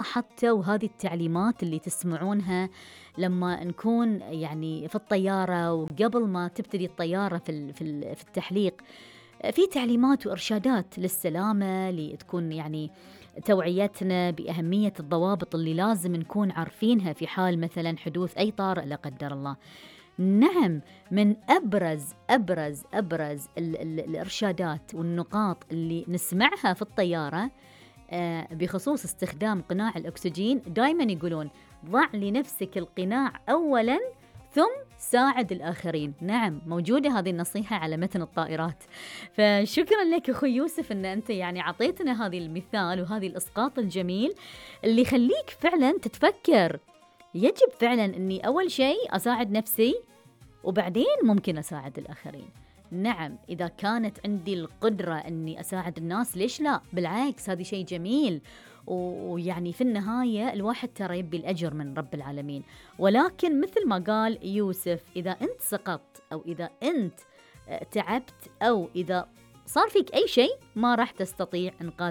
حتى وهذه التعليمات اللي تسمعونها لما نكون يعني في الطيارة وقبل ما تبتدي الطيارة في التحليق، في تعليمات وإرشادات للسلامة لتكون يعني توعيتنا بأهمية الضوابط اللي لازم نكون عارفينها في حال مثلا حدوث أي طارئ لا قدر الله. نعم، من أبرز الإرشادات والنقاط اللي نسمعها في الطيارة بخصوص استخدام قناع الأكسجين، دايما يقولون ضع لنفسك القناع أولا ثم ساعد الآخرين. نعم، موجودة هذه النصيحة على متن الطائرات. فشكرا لك أخوي يوسف أن أنت يعني عطيتنا هذه المثال وهذه الإسقاط الجميل اللي يخليك فعلا تتفكر، يجب فعلا أني أول شيء أساعد نفسي وبعدين ممكن أساعد الآخرين. نعم، إذا كانت عندي القدرة أني أساعد الناس ليش لا؟ بالعكس، هذا شيء جميل، ويعني في النهاية الواحد ترى يبي الأجر من رب العالمين. ولكن مثل ما قال يوسف، إذا أنت سقطت أو إذا أنت تعبت أو إذا صار فيك أي شيء ما راح تستطيع إنقاذ